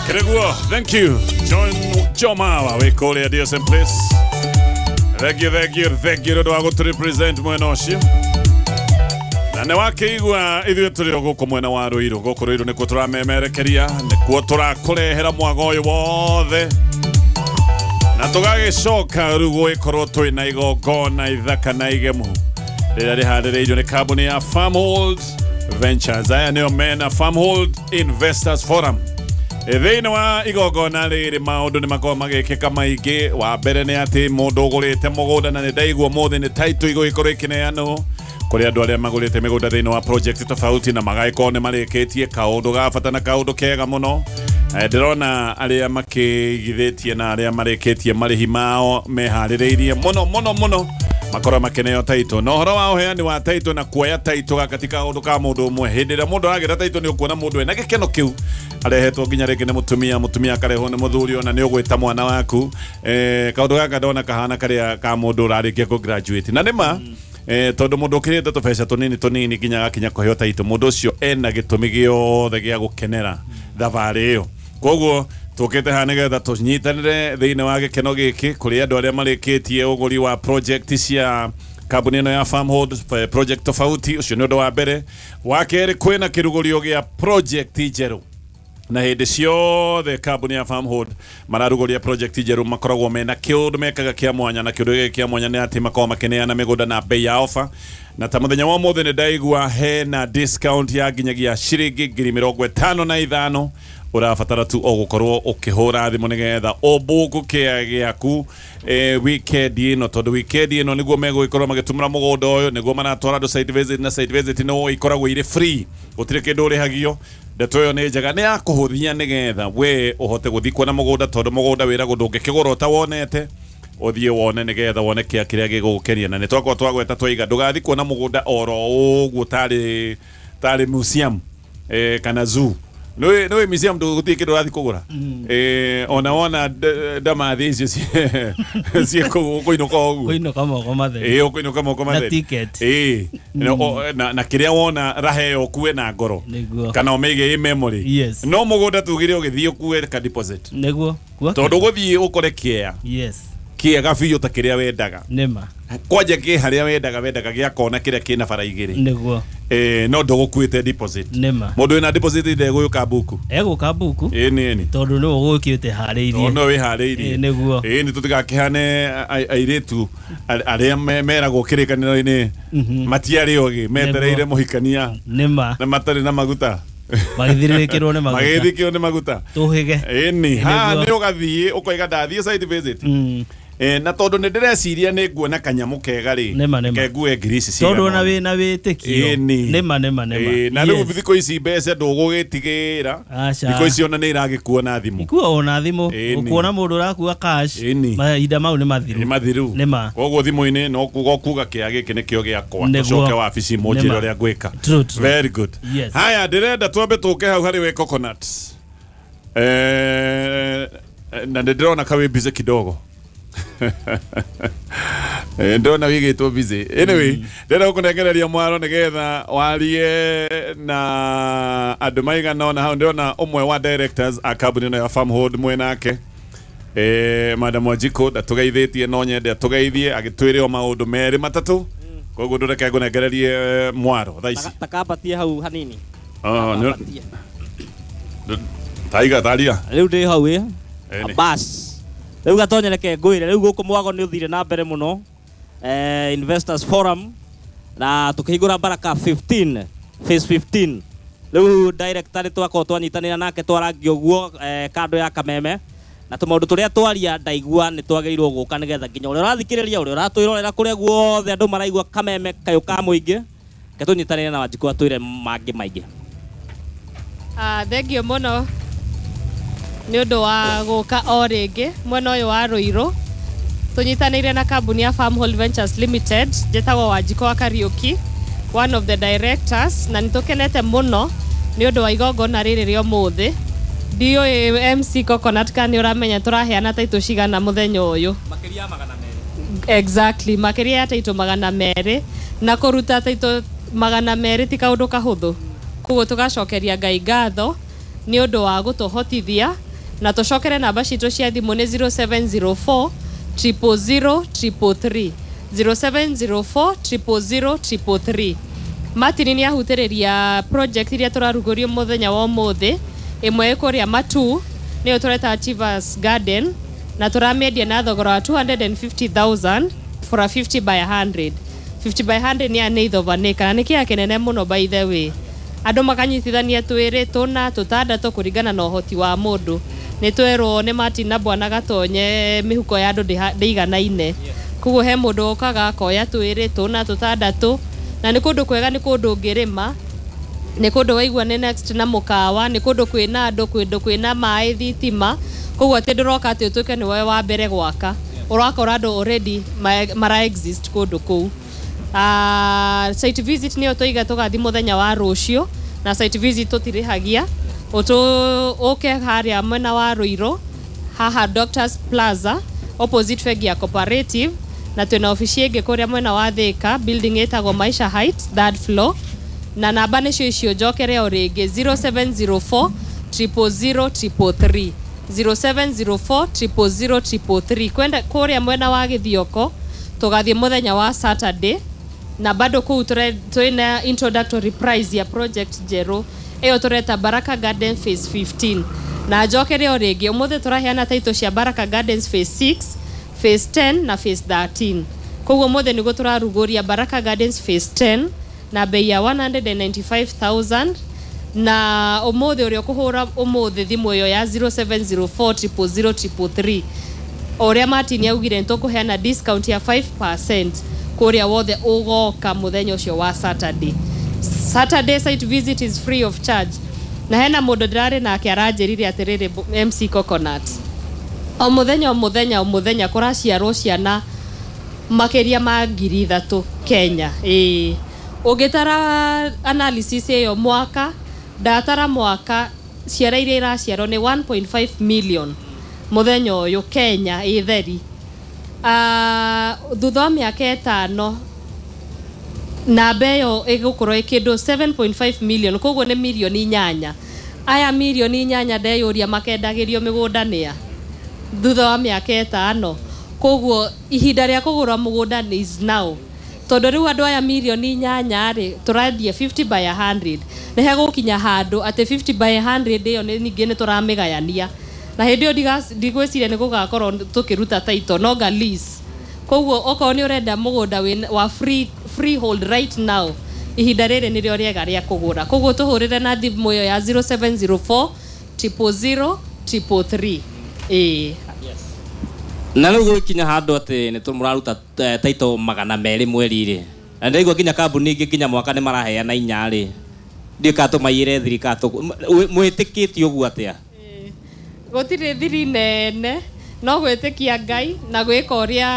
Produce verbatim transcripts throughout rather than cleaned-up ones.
Akĩrĩguo, thank you John Jomawa wĩ kũrĩa D S M Place. Thank you, thank you, thank you nĩ ũndũ wa gũtũ represent mwena ũcio. Na nĩ wakĩigua ithuĩ tũrĩ o gũkũ mwena wa Rũirũ. Gũkũ Rũirũ nĩkuo tũramemerekeria, nĩkuo tũrakũrehera mwago ũyũ wothe, na tũgagĩcoka rĩu gũgĩkorwo twĩna igongona ithaka na igemu rĩrĩa rĩharĩrĩirio nĩ kambuni ya Farmhold Ventures. Aya nĩo mena Farmhold Investors Forum. Thĩinĩ wa igongona rĩrĩ maũndũ nĩ makoragwo magĩkĩka maingĩ. Wa mbere nĩ atĩ mũndũ ũgũrĩte mũgũnda, na nĩ ndaigua ũmũthĩ nĩ title igũgĩkorwo ĩkĩneanwo kũrĩ andũ arĩa magũrĩte mĩgũnda thĩinĩ wa project tofauti na magagĩkorwo nĩ marĩkĩtie kaũndũ ga bata na kaũndũ kega mũno. Eh, ndĩrona arĩa makĩigithĩtie na arĩa marĩkĩtie marĩhi mao meharĩrĩirie mũno mũno mũno makorwo makĩneo title. Na ũhoro wa ũheani wa title na kuoya title gaka ti kaũndũ ka mũndũ ũmwe. Hĩndĩ ĩrĩa mũndũ aragĩra title, nĩ ũkuona mũndũ ena gĩkeno kĩu, arehetwo nginya rĩngĩ nĩ mũtumia, mũtumia akarehwo nĩ mũthuri, ona nĩ ũgwĩta mwana waku. eh, kaũndũ gaka ndona kahana karĩa ka mũndũ ũrarĩkia kũ graduate, na nĩma eh, tondũ mũndũ ũkĩrĩte tũbeca tũnini tũnini nginya agakinya kũheo title, mũndũ ũcio ena gĩtũmi gĩothe gĩa gũkenera thabarĩ ĩyo. Koguo tũkĩte haha nĩgetha tũnyitanĩre thĩinĩ wa gĩkeno gĩkĩ kũrĩ andũ arĩa marĩkĩtie ũgũri wa project cia kambuni ĩno ya Farmhold, eh, project tofauti. Ũcio nĩ ũndũ wa mbere. Wa kerĩ, kwĩna kĩrugũrio gĩa project njerũ, na hĩndĩ ciothe kambuni ya Farmhold mararugũria project njerũ makoragwo mena kĩũndũ mekaga kĩa mwanya, na kĩũndũ gĩkĩ kĩa mwanya nĩ atĩ makoragwo makĩneana mĩgũnda na bei ya ofa. Na ta mũthenya wa ũmũthĩ nĩ ndaigua hena discount ya nginyagia ciringi ngiri mĩrongo ĩtano na ithano. Ũrabatara tu o gũkorwo ũkĩhũra thimũ nĩgetha ũbuku kĩa gĩaku eh, weekend ĩno, tondũ weekend ĩno nĩguo megũgĩkorwo magĩtũmĩra mũgũnda ũyũ, nĩguo maratwara andũ site visit, na site visit no ikoragwo irĩ free, gũtirĩ kĩndũ ũrĩhagio. Ndeto ĩyo nĩ njega, nĩ ya kũhũthia nĩgetha we ũhote gũthiĩ kuona mũgũnda, tondũ mũgũnda wĩragwo ndũngĩkĩgũra ũtawonete. Ũthiĩ wone nĩgetha wone kĩa kĩrĩa gĩgũgũkenia. Na nĩ twakorwo twagweta twaiga ndũgathiĩ kuona mũgũnda oro ũguo tarĩ tarĩ museum eh, kana zoo. Nĩ nĩ museum ndũgũthiĩ kĩndũ ũrathiĩ kũgũra. eh, ona wona d- ndamathi icio ciĩ ciĩ kũu ũkũinũka o ũguo. Kũinũka moko matheri. Ĩĩ, ũkũinũka moko Na matheri. ticket. Ĩĩ. No, o- na, na kĩrĩa wona raheo ũkue na ngoro Nĩguo. kana ũmĩige ĩ memory. Yes. No mũgũnda tugire ũgĩthiĩ ũkue ka deposit, Nĩguo. Kua tondũ ũgũthiĩ ũkore kĩea yes kĩega biũ ta kĩrĩa wendaga. Nĩma. Kwanja kĩ harĩa wendaga wendaga gĩa kona kĩrĩa kĩna bara igĩrĩ. Nĩguo. Eh, no ndũgũkuĩte deposit. Nĩma. Mũndũ wĩna deposit ndegũyũka mbuku. Egũka mbuku. Ĩĩ, nĩ ĩni. Tondũ nĩwe ũgũkĩte harĩirie. No wĩharĩirie. Ĩĩ, nĩguo. Ĩĩ, nĩ tũtigakĩhane a- airĩtu a- arĩa me- meragwo kĩrĩkanĩro-inĩ matiarĩ ogĩ, metereire mũhikania Nĩma. na matarĩ na maguta. Magĩthirĩrĩkĩrwo nĩ maguta. Magĩthikĩrwo nĩ maguta. Tũhĩge. Ĩni haha Nĩguo. nĩ ũgathiĩ ũkoiga ndathiĩ site visit. Mm. Eh, na tondũ nĩ ndĩreciria nĩ nguona kanyamũ kega rĩ, Nĩma, nĩma. ke ngue ngiri ici tondũ cigana ona ũna. wĩna wĩtĩkio. Ĩni. Nĩma, nĩma, nĩma. Ĩĩ, na rĩu Yes. thikũ ici mbeca ndũgũgĩtigĩra. Aca. Thikũ ici ona nĩ iragĩkuo na thimũ. Ikua ona thimũ. Ĩni. Ũkuona mũndũ ũrakua cash, Ĩni. mahinda mau nĩ mathiru. Nĩ mathiru. Nĩma. Koguo thimũ-inĩ no kuga kuga kĩa gĩkĩ nĩkĩo gĩakwa. Nĩguo. Tũcoke wabici mũnjĩre Nĩma. ũrĩa ngwĩka. True, true. Very good. Yes. Haya, ndĩrenda twambe tũke hau harĩ we Coconut. Eh, na nĩ ndĩrona ka wĩ busy kidogo. Eh, ndĩrona wĩigĩtwo busy. Anyway, ndĩrenda gũkũnengereria mwaro nĩgetha warie na andũ maigana ũna hau. Ndĩrona ũmwe wa directors a kambuni ĩno ya Farmhold mwenake, eh, Madam Wanjikũ ndatũgeithĩtie, no nyende atũgeithie agĩtwĩre o maũndũ merĩ matatũ. Koguo ndũreke ngũnengererie eh, mwaro thaa ici. Takambatie hau hanini. Ah, nĩ- Takambatie. Taiga taria. Rĩu ndĩ hau ĩ. Ĩni. Bas, rĩu gatonye reke ngwĩre, rĩu gũkũ mwago nĩ ũthire na mbere mũno, eh, Investors Forum na tukĩhingũra Baraka fifteen, phase fifteen. Rĩu director nĩ twakorwo twanyitanĩra nake, twarangia ũguo eh, kando ya kameme na tũmaũndũ tũrĩa twaria, ndaigua nĩ twagĩrĩirwo gũka nĩgetha nginya ũrĩa ũrathikĩrĩria, ũrĩa ũratwĩrorera, kũrĩa guothe andũ maraigua kameme kayũ ka mũingĩ, ke tũnyitanĩre na Wanjikũ atwĩre mangĩ maingĩ. Ah, thengio mũno nĩ ũndũ wa gũka o rĩngĩ mwena ũyũ wa Rũirũ tũnyitanĩire na kambuni ya Farmhold Ventures Limited. Njĩtagwo Wanjikũ wa Kariũki, one of the directors, na nĩ tũkenete mũno nĩ ũndũ wa igongona rĩrĩ rĩa ũmũthĩ. Ndiũĩ M C Coconut kana nĩ ũramenya tũraheana taitũ cigana mũthenya ũyũ. Makĩria ya magana merĩ. Exactly, makĩria ya taitũ magana merĩ, na kũruta taitũ magana merĩ ti kaũndũ kahũthũ. Koguo tũgacokeria Ngai ngatho nĩ ũndũ wa gũtũhotithia Na tũcokere namba citũ cia thimũ nĩ zero seven zero four zero zero zero three three, zero seven zero four zero zero zero three three. Martin nĩ ahutĩrĩria project iria tũrarugũrio mũthenya wa ũmũthĩ. Ĩmwe ĩ kũrĩa Matu, nĩyo tũreta Achievers Garden, na tũramĩendia na thogora wa two hundred fifty thousand for a fifty by one hundred. fifty by one hundred nĩ an eighth of an acre, na nĩ kĩea kĩnene mũno, by the way. Andũ makanyitithania twĩrĩ, tũna, tũtandatũ, kũringana na ũhoti wa mũndũ. Nĩ twerwo nĩ Martin na Bwana Gatonye mĩhuko ya andũ ndĩha- ndĩiganaine, koguo he mũndũ ũkaga akoya twĩrĩ, tũna, tũtandatũ. Na nĩ kũndũ kwega, nĩ kũndũ ũngĩrĩma, nĩ kũndũ waigua nĩ next na mũkawa, nĩ kũndũ kwĩna andũ, kũndũ kwĩna maĩ, thitima. Koguo atĩ ndũroka atĩ ũtuĩke nĩ we wa mbere gwaka, ũrakora andũ already ma- mara exist kũndũ kũu. uh, site visit nĩyo tũiga tũgathi mũthenya wa rũciũ, na site visit tũtirĩhagia. Ũtũ ũke harĩa mwena wa Rũirũ haha, Doctors Plaza, opposite bengi ya Cooperative, na twĩna obici ĩngĩ kũrĩa mwena wa Thika, building ĩtagwo Maisha Heights, third floor. Na namba nĩcio icio, njokere o rĩngĩ: zero seven zero four zero zero three three, zero seven zero four zero zero three three. Kwenda kũrĩa mwena wa Gĩthioko tũgathiĩ mũthenya wa Saturday, na bado kũu tũre- twĩna introductory price ya project njerũ ĩyo tũreta Baraka Garden Phase fifteen. Na njokere o rĩngĩ, ũmũthĩ tũraheana title cia Baraka Gardens Phase six, Phase ten na Phase thirteen. Koguo ũmũthĩ nĩguo tũrarugũria Baraka Gardens Phase ten na bei ya one hundred ninety-five thousand. Na ũmũthĩ ũrĩa ũkũhũra ũmũthĩ thimũ ĩyo ya zero seven zero four zero zero three three, o ũrĩa Martin augire, nĩ tũkũheana discount ya five percent kũrĩa wothe ũgoka mũthenya ũcio wa Saturday. Saturday site visit is free of charge. Na hena mũndũ ndĩrarĩ nake aranjĩrire atĩrĩrĩ, M C Coconut, o mũthenya o mũthenya o mũthenya kũraciarwo ciana makĩria ma ngiri ithatũ Kenya. Ĩĩ, ũngĩtara analysis ĩyo mwaka, ndatara mwaka, ciana iria iraciarwo nĩ one point five million mũthenya ũyũ Kenya ĩ theri. uh, thutha wa mĩaka ĩtano namba ĩyo ĩgũkorwo ĩ kĩndũ seven point five million, koguo nĩ mirioni inyanya. Aya mirioni inyanya ndeyũria makendagĩrio mĩgũnda nĩa thutha wa mĩaka ĩtano? Koguo ihinda rĩa kũgũra mũgũnda nĩ is now, tondũ rĩu andũ aya mirioni inyanya rĩ, tũrendia fifty by one hundred, nĩ hegũkinya handũ atĩ fifty by one hundred ĩyo nĩ ningĩ nĩ tũramĩgayania, na hĩndĩ ĩyo ndiga- ndigwĩciria nĩ gũgakorwo tũkĩruta title nonga lease. Koguo okorwo nĩ ũrenda mũgũnda wĩna- wa free, freehold right now, ihinda rĩrĩ nĩrĩo rĩega rĩa kũgũra. Koguo tũhũrĩre na thimũ ĩyo ya zero seven zero four zero zero three three. Ĩĩ. Na rĩu gũgĩkinya handũ atĩ nĩ mũraruta eh, title magana merĩ mweri rĩ, na ndĩraigua nginya kambuni ingĩ nginya mwaka nĩ maraheana inya rĩ, ndiũĩ kana tũmaiyĩre thiri kana tũ- mwĩtĩkĩtie ũguo atĩa? Gũtirĩ thiri nene, no gwĩtĩkia Ngai na gwĩka ũrĩa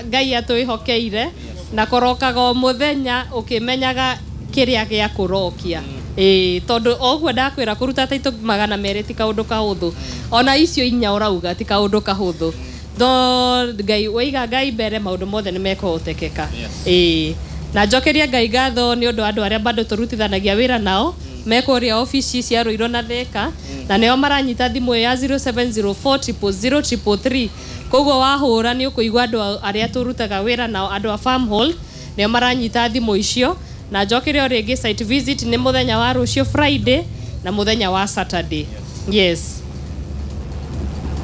Ngai atwĩhokeire, na kũrokaga o mũthenya ũkĩmenyaga kĩrĩa gĩa kũrokia. Ĩĩ, tondũ o ũguo ndakwĩra, kũruta taitũ magana merĩ ti kaũndũ kahũthũ, ona icio inya ũrauga ti kaũndũ kahũthũ, no Ngai, waiga Ngai mbere, maũndũ mothe nĩ mekũhotekeka. Ĩĩ, na njokeria Ngai ngatho nĩ ũndũ wa andũ arĩa bado tũrutithanagia wĩra nao me kũrĩa obici cia Rũirũ na Thĩka, na nĩo maranyita thimũ ĩyo ya zero seven zero four zero zero three three. Koguo wahũra nĩ ũkũigua andũ arĩa tũrutaga wĩra nao, andũ a Farmhold, nĩo maranyita thimũ icio. Na njokere o rĩngĩ, site visit nĩ mũthenya wa rũciũ Friday na mũthenya wa Saturday, yes.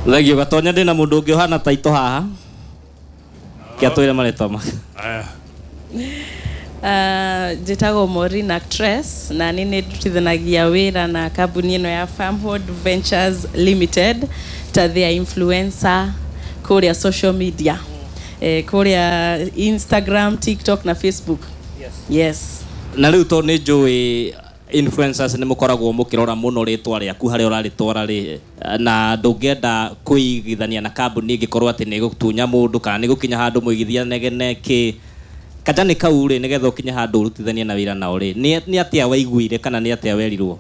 Thengio, Gatonya. Ndĩna mũndũ ũngĩ ũhana taito haha, kĩa twĩre marĩtwa make. Aya. Uh, njĩtagwo Maureen actress, na nĩ nĩ ndutithanagia wĩra na kambuni ĩno ya Farmhold Ventures Limited ta their influencer kũrĩa social media, eh, kũrĩa Instagram, TikTok na Facebook, yes, yes. Na rĩu tondũ nĩ njũĩ influencers nĩ mũkoragwo mũkĩrora mũno rĩtwa rĩaku harĩa ũrarĩtwara rĩ, na ndũngĩenda kũigithania na kambuni ĩngĩkorwo atĩ nĩ ĩgũtunya mũndũ kana nĩ gũkinya handũ mũigithia negene kĩ kajani kau rĩ, nĩgetha ũkinye handũ ũrutithanie na wĩra nao rĩ, nĩ nĩ atĩa waiguire kana nĩ atĩa werirwo?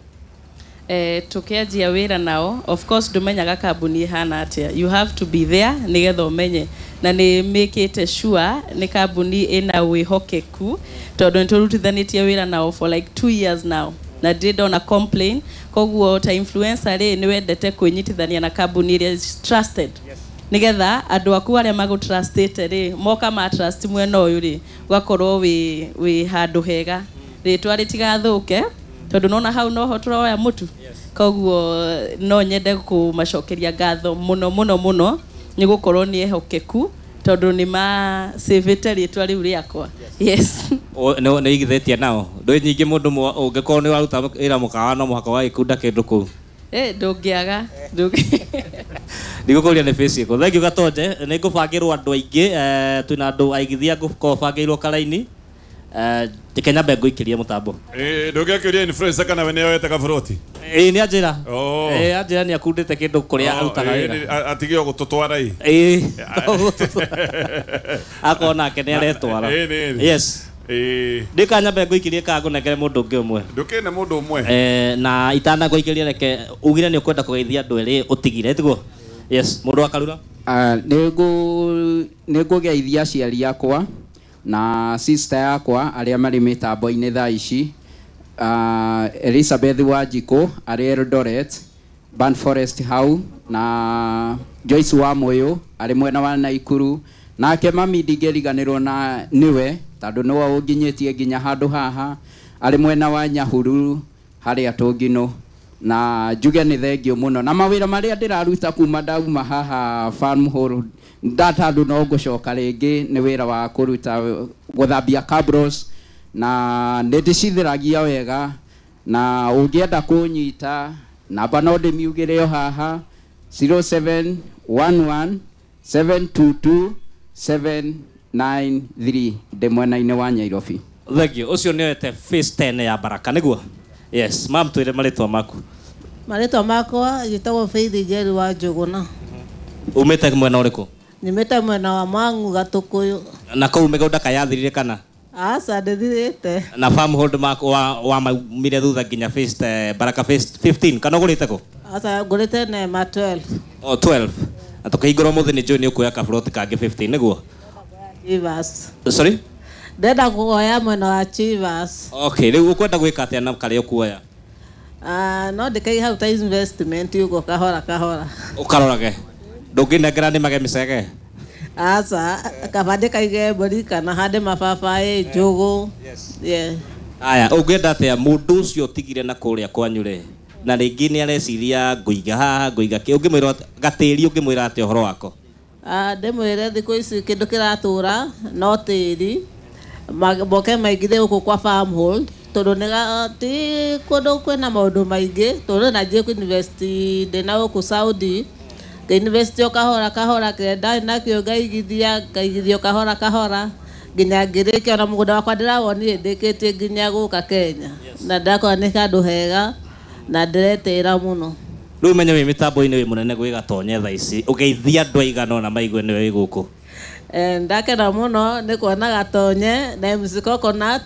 Eh, tukianjia wĩra nao, of course ndũmenyaga kambuni ĩhana atĩa. You have to be there nĩgetha ũmenye, na nĩ mĩkĩte sure nĩ kambuni ĩna wĩhokeku, tondũ nĩ tũrutithanĩtie wĩra nao for like two years now. Na Na ndirĩ ndona complain. Koguo ta influencer rĩ, nĩ wendete kwĩnyitithania na kambuni ĩrĩa is trusted, nigetha andũ aku arĩa magũtrustĩte rĩ, moka ma trust mwena ũyũ rĩ, ũgakorwo wĩ wĩ handũ hega, rĩtwa rĩtigathũke, tondũ nona hau noho tũroya mũtu. Koguo no nyende kũmacokeria ngatho mũno mũno mũno, nĩ gũkorwo nĩ ehokeku, tondũ nĩ macĩvĩte rĩtwa rĩu rĩakwa, yes. Nĩ igithĩtie nao ndå nyingĩ mũndũ ũngĩkorwo nĩ waruta wĩra mũkawa, no mũhaka wagĩkunda kĩndũ kũu. Eh, ndũngĩaga. Ndũngĩ- Ndigũkũria nĩ face ĩkũ. Thank you, Gatonje. Nĩ ngũbangĩrwo andũ aingĩ, eh, twĩna andũ aigithia ngũkorwo bangĩirwo karaini. Eh, reke nyambe ngũikĩrie mũtambo. Eh, ndũngĩakĩũria influencer kana we nĩoete kaburoti? Ĩĩ, nĩ anjĩra. Oh. Ĩĩ, anjĩra nĩ akundĩte kĩndũ kũrĩa arutaga Oh, ĩĩ, wĩra. nĩ- a- atige o gũtũtwara ĩ. Ĩĩ, akorwo nake nĩ aretwara. Ĩĩ, nĩ- nĩ. Yes. Ĩĩ. Ndĩka nyambe ngũikĩrie kana ngũnengere mũndũ ũngĩ ũmwe? Ndũkĩne mũndũ ũmwe. Eh, na itanagũikĩria, reke ugire nĩ ũkwenda kũgeithia andũ erĩ ũtigire, tiguo? Yes, mũndũ wa Karura. Ah, nĩ ngũgeithia aciari akwa na sister yakwa arĩa marĩ mĩtambo-inĩ thaa ici, uh, Elizabeth Wanjikũ arĩ Eldoret Ban Forest hau, na Joyce wa Moyo arĩ mwena wa Naikuru. Nake mami ndingĩriganĩrwo na nĩwe, tondũ nĩwe ũnginyĩtie nginya handũ haha, arĩ mwena wa Nyahururu harĩa Tũngino. Na njuge nĩ thengio mũno na mawĩra marĩa ndĩraruta kuma ndauma haha Farm Hall ndatandũ, no ngũcoka rĩngĩ, nĩ wĩra wa kũruta gũthambia cabros, na nĩ ndĩcitheragia wega. Na ũngĩenda kũnyita, namba no ndĩmiugĩre o haha, zero seven one one seven two two seven nine three, ndĩ mwena-inĩ wa Nyairobi. Thank you. Ũcio nĩ oete phase ten ya Baraka, nĩguo? Yes, mam, twĩre marĩtwa maku. Marĩtwa makwa njĩtagwo Faith Njeri wa Njũgũna. Umĩte mwena ũrĩkũ? Nyumĩte mwena wa Mang'u, Gatũkũyũ. Na kũu mĩgũnda kayathirire kana? Aca, ndĩthirĩte. Na farm hold maku wa wa maumire thutha nginya phase eh, Baraka phase fifteen, kana ũgũrĩte kũ? Aca, ngũrĩte Nema twelve. O twelve, na tũkĩhingũra ũmũthĩ nĩ njũĩ nĩ ũkuoya kaburoti kangĩ fifteen, nĩguo? Chivas. Sorry? Ndenda kuoya mwena wa Chivas. Okay, rĩu ũkwenda gwĩka atĩa na karĩa ũkuoya? Ah, no ndĩkaige hau ta investment ũguo, kahora kahora. Ũkarorage ndũngĩnengera nĩmage mĩcege? Aca, kaba ndĩkaige mbũri kana hande mababaĩ, njũgũ, yeah. Aya, ũngĩenda atĩa mũndũ ũcio ũtigire na kũrĩa kwanyu rĩ, na rĩngĩ nĩ areciria ngũiga haha, ngũiga kĩ, ũngĩmwĩra atĩa- gatĩri, ũngĩmwĩra atĩa ũhoro wako? Ah, ndĩmwĩre thikũ ici kĩndũ kĩratũra no tĩri. Ma- moke maingĩre gũkũ kwa Farmhold, tondũ nĩ ga- ti kũndũ kwĩna maũndũ maingĩ, tondũ na njie kũ-invest ndĩna gũkũ Saudi, ngĩ-invest o kahora kahora, kĩrĩa ndarĩ nakĩo ngaigithia, ngaigithia o kahora kahora nginya ngĩrĩkia, ona mũgũnda wakwa ndĩrawonire ndĩkĩtie nginya gũka Kenya, na ndakora nĩ handũ hega na ndĩretĩĩra mũno. Rĩu menye wĩ mĩtambo-inĩ, wĩ mũnene gwĩ Gatonye thaa ici, ũgeithia andũ aigana ũna maigue nĩwe wĩ gũkũ. Eh, ndakena mũno nĩ kuona Gatonye na M C Coconut,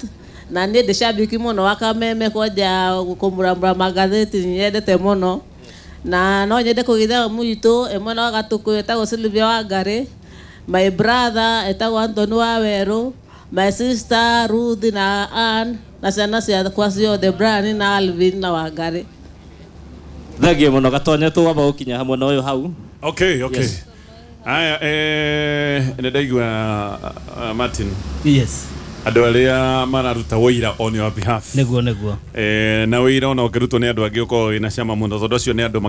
na niĩ ndĩ shabiki mũno wa Kameme, kwanja kũmuramura magathĩti nyendete mũno. Na no nyende kũgeithia mũitũ ĩ mwena wa Gatũkũyũ etagwo Sylvia Wangari, my brother etagwo Anthony wa Werũ, my sister Ruth na Ann, na ciana ciakwa ciothe, Brian na Alvin na Wangari. Thengiũ mũno, Gatonye. Tũwamba gũkinya hamwe na ũyũ hau. Okay, okay. Yes. Aya, eh, nĩ ndaigua, uh, Martin, Yes. andũ arĩa mararuta wĩira on your behalf. Nĩguo, nĩguo. Eh, na wĩira ona ũngĩrutwo nĩ andũ angĩ ũkorwo wĩna cama mũno, tondũ acio nĩ andũ.